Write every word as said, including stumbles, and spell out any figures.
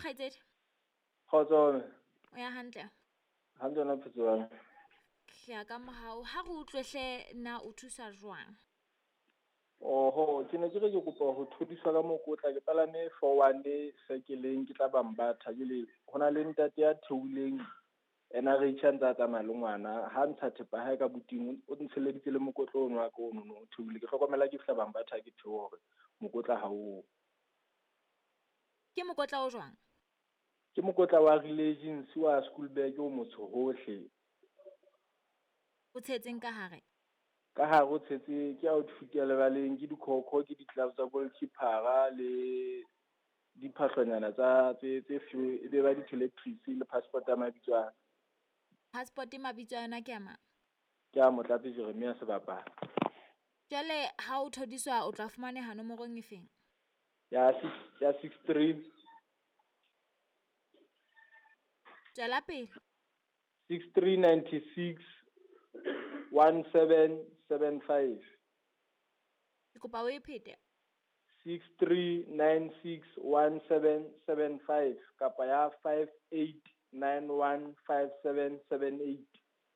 Kgaitsedi. Kgotso. O ya hantle? Hantle wena Phutsoana. Ke ya ka mohau. Ha re utlwe hle na o thusa jwang? Oho, ke ne ke re ke kopa ho thodiswa ka mokotla, ke palame four one sekeleng ke tla Bambatha. Jwale ho na le ntate ya theohileng N R H a ntse a tsamaya le ngwana, ha ntsha thepa hae ka buting o ntsheleditse le mokotla ono wa ka ono o theohile. Ke hlokomela ke fihla Bambatha ke theoha hore mokotla ha o. Ke mokotla o jwang? Ke mokotla wa Relay wa school bag o motsho hohle. O tshetseng ka hare? Ka hare o tshetse ke outfit ya lebaleng, ke dikhokho, ke di-gloves tsa goalkeeper le diphahlonyana tsa tse tse few, e be ba di-toiletries le passport ya mabitso a. Passport mabitso a yona ke a mang? Ke a Motlatsi Jeremia Sebapala. Jwale ha o thodiswa o tla fumaneha nomorong e feng? Ya six, ya six three. Tswela pele. Six three ninety six one seven seven five. Ke kopa o e phete. Six three nine six one seven seven five kapa ya five eight nine one five seven seven eight.